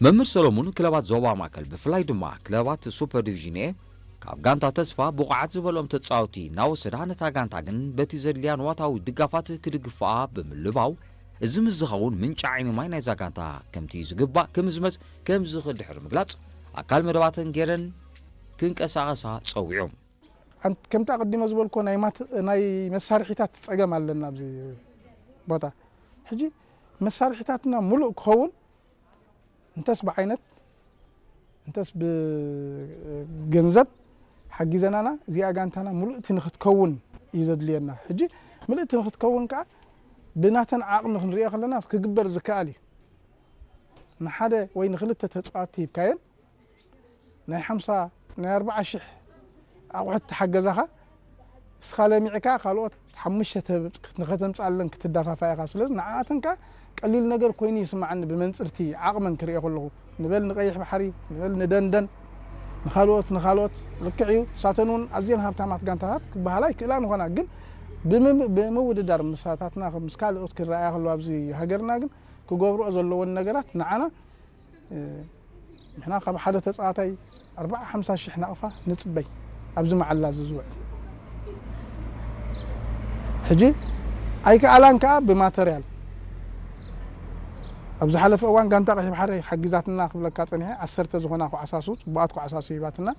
መምህር ሰሎሙን ክለባት ዞባ ማእከል ብፍላይ ድማ ክለባት ሱፐር ዲቪዥን ኤ ካብ ጋንታ ተስፋ ብቑዓት ዝበሎም ተጻወቲ እናወሰዳ ነታ ጋንታ ግን በቲ ዘድልያ ንዋታዊ ድጋፋት ክድግፍኣ ብምልባው እዚ ምስ ዝኸውን ምንጪ ዓይኒ ማይ ናይዛ ጋንታ ከምቲ ዝግባእ ክምዝመዝ ከም ዝኽእል ድሕሪ ምግላጽ ኣካል መደባተን ገይረን ክንቀሳቐሳ ጸዊዑ። ከምቲ ኣቐዲመ ዝበልኮ ናይ መሳርሒታት ፀገም ኣለና ኣብዚ ቦታ። ሕጂ መሳርሒታትና ሙሉእ ክኸውን እንተስ ብዓይነት እንተስ ብገንዘብ ሓጊዘናና እዚኣ ጋንታና ሙሉእቲ ንክትከውን እዩ ዘድልየና። ሕጂ ምልእቲ ንክትከውን ከዓ ብናተን ዓቕሚ ክንሪኦ ከለና ክግበር ዝከኣል እዩ። ንሓደ ወይ ንክልተ ተፃዋቲ ሂብካየን ናይ ሓምሳ ናይ ኣርባዓ ሽሕ ኣቑሑት ተሓገዛኻ እስኻ ለሚዕካ ካልኦት ሓሙሽተ ንኸተምፅኣለን ክትዳፋፋ ኢኻ። ስለዚ ንዓኣተን ከዓ ቀሊል ነገር ኮይኑ ይስምዓኒ ብመንፅርቲ ዓቕመን ክሪኦ ከለኹ። ንበል ንቀይሕ ባሕሪ፣ ንበል ንደንደን፣ ንኻልኦት ንኻልኦት ልክዕ እዩ። ንሳተን እውን ኣዝየን ሃብታማት ጋንታታት ክበሃላ ይክእላ ንኾና፣ ግን ብምውድዳር ምሳታትና ምስ ካልኦት ክረኣያ ከለዋ ኣብዚ ሃገርና ግን ክገብርኦ ዘለዎን ነገራት ንዓና ንሕና ካብ ሓደ ተፃዋታይ ኣርባዓ ሓምሳ ሽሕ ናቕፋ ንፅበይ ኣብዚ መዓላ እዚ ዝውዕል። ሕጂ ኣይከኣላን ከዓ ብማተርያል ኣብ ዝሓለፈ እዋን ጋንታ ቀይሕ ባሕሪ ሓጊዛትና ክብለካ ፀኒሐ። ዓሰርተ ዝኾና ኮዓሳሱ፣ ፅቡቓት ኮዓሳሱ ሂባትና።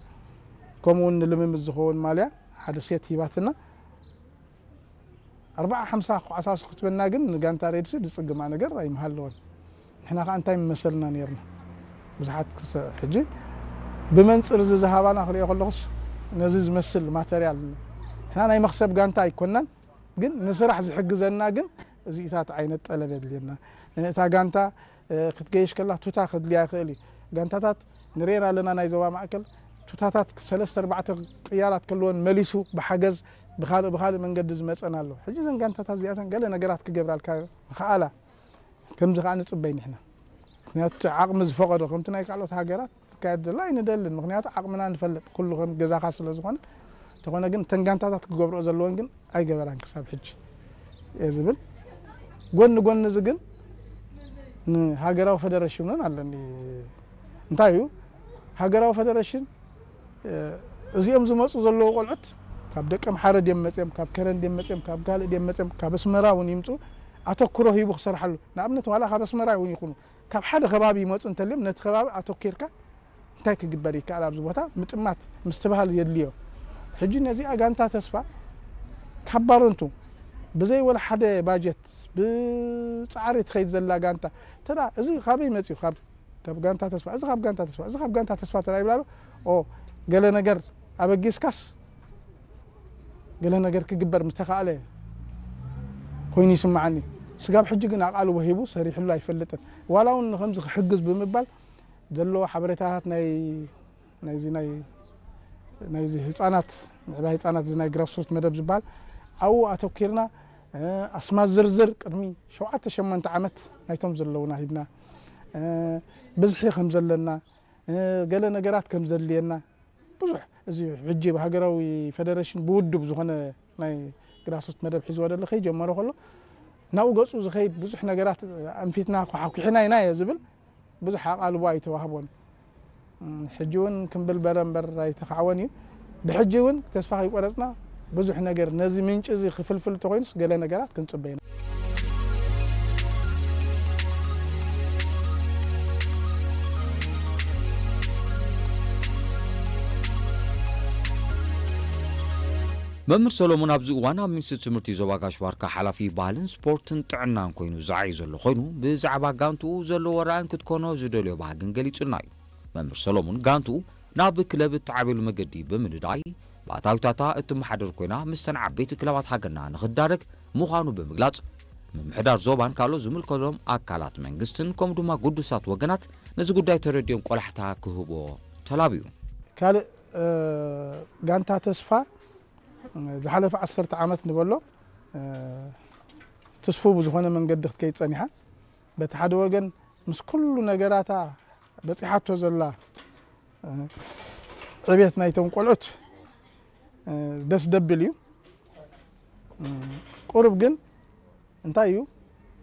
ከምኡ እውን ንልምምድ ዝኸውን ማልያ ሓደ ሴት ሂባትና። ኣርባዓ ሓምሳ ኮዓሳሱ ክትበና ግን ንጋንታ ሬድሲ ዝፅግማ ነገር ኣይምሃለወን። ንሕና ከዓ እንታይ ምመሰልና ነርና ብዙሓት ክሰ ሕጂ ብመንፅር እዚ ዝሃባና ክሪኦ ከለኹስ ነዚ ዝመስል ማተርያል ንሕና ናይ መክሰብ ጋንታ ኣይኮናን፣ ግን ንስራሕ ዝሕግዘና ግን እዚኢታት ዓይነት ጠለብ የድልየና። እታ ጋንታ ክትገይሽ ከላ ቱታ ከድልያ ይኽእል እዩ። ጋንታታት ንሬን ኣለና ናይ ዞባ ማእከል ቱታታት ሰለስተ ኣርባዕተ ቅያራት ከለወን መሊሱ ብሓገዝ ብኻልእ ብኻልእ መንገዲ ዝመፀን ኣሎ። ሕጂ እዘን ጋንታታት እዚኣተን ገለ ነገራት ክገብራልካ ምኽኣላ ከምዚ ከዓ ንፅበይ ንሕና። ምክንያቱ እቲ ዓቕሚ ዝፈቐዶ ከምቲ ናይ ካልኦት ሃገራት ትካየድ ዘሎ ኣይንደልን። ምክንያቱ ዓቕምና ንፈልጥ ኩሉ ከም ገዛኻ ስለ ዝኾነ። እንተኾነ ግን እተን ጋንታታት ክገብርኦ ዘለወን ግን ኣይገበራን ክሳብ ሕጂ እየ ዝብል። ጎኒ ጎኒ እዚ ግን ንሃገራዊ ፈደረሽን እውን ኣለኒ። እንታይ እዩ ሃገራዊ ፈደረሽን? እዚኦም ዝመፁ ዘለዉ ቆልዑት ካብ ደቀምሓረ ድዮም መፅኦም፣ ካብ ከረን ድዮም መፅኦም፣ ካብ ካልእ ድዮም መፅኦም፣ ካብ ኣስመራ እውን ይምፁ ኣተኩሮ ሂቡ ክሰርሓሉ። ንኣብነት ዋላ ካብ ኣስመራ እውን ይኹኑ ካብ ሓደ ከባቢ ይመፁ እንተልዮም ነቲ ከባቢ ኣተኪርካ እንታይ ክግበር ይከኣል ኣብዚ ቦታ ምጥማት ምስትብሃል የድልዮ። ሕጂ ነዚኣ ጋንታ ተስፋ ካብ ባረንቱ ብዘይ ወላ ሓደ ባጀት ብፃዕሪ ትኸይድ ዘላ ጋንታ ተዳ እዚ ካበይ መፅኡ ካብ ካብ ጋንታ ተስፋ እዚ ካብ ጋንታ ተስፋ እዚ ካብ ጋንታ ተስፋ ተዳ ይብላሉ። ኦ ገለ ነገር ኣበጊስካስ ገለ ነገር ክግበር ምስተኻእለ ኮይኑ ይስምዓኒ። ስጋብ ሕጂ ግን ኣቓልቦ ሂቡ ሰሪሕሉ ኣይፈልጥን። ዋላ እውን ንከምዚ ክሕግዝ ብምባል ዘለዎ ሓበሬታታት ናይ ናይዚ ናይ ናይዚ ህፃናት ምዕባይ ህፃናት እዚ ናይ ግራስሩት መደብ ዝበሃል ኣብኡ ኣተኪርና ኣስማት ዝርዝር ቅድሚ ሸውዓተ ሸሞንተ ዓመት ናይቶም ዘለውና ሂብና ብዝሒ ከም ዘለና ገለ ነገራት ከም ዘድልየና ብዙሕ እዚ ሕጂ ብሃገራዊ ፈደረሽን ብውድብ ዝኾነ ናይ ግራስሩት መደብ ሒዝዎ ደሎ ከይጀመሮ ከሎ ናብኡ ገፁ ዝኸይድ ብዙሕ ነገራት ኣንፊትና ኳሓኩሕና ኢና እየ ዝብል ብዙሕ ኣቓልቦ ኣይተዋህቦን። ሕጂ እውን ክምብል በረ እምበር ኣይተኻዕወን እዩ። ብሕጂ እውን ተስፋ ከይቆረፅና ብዙሕ ነገር ነዚ ምንጪ እዚ ክፍልፍል እንተኮይኑስ ገለ ነገራት ክንፅበ ኢና። መምህር ሰሎሞን ኣብዚ እዋን ኣብ ሚኒስትሪ ትምህርቲ ዞባ ጋሽ ባርካ ሓላፊ ባህልን ስፖርትን ጥዕናን ኮይኑ ዝዓዩ ዘሎ ኮይኑ ብዛዕባ ጋንትኡ ዘለዎ ራእን ክትኮኖ ዝደልዮ ባህግን ገሊጹልና እዩ። መምህር ሰሎሞን ጋንትኡ ናብ ክለብ እትዓብየሉ መገዲ ብምንዳይ ብኣታዊታታ እትመሓደር ኮይና ምስተን ዓበይቲ ክለባት ሃገርና ንክትዳረግ ምዃኑ ብምግላጽ ምምሕዳር ዞባን ካልኦት ዝምልከቶም ኣካላት መንግስትን ከምኡ ድማ ግዱሳት ወገናት ነዚ ጉዳይ ተረዲኦም ቆላሕታ ክህቦ ተላብዩ። ካልእ ጋንታ ተስፋ ዝሓለፈ ዓሰርተ ዓመት ንበሎ ትስፉ ብዝኾነ መንገዲ ክትከይድ ጸኒሓ። በቲ ሓደ ወገን ምስ ኩሉ ነገራታ በጺሓቶ ዘላ ዕቤት ናይቶም ቆልዑት ደስ ደብል እዩ። ቁሩብ ግን እንታይ እዩ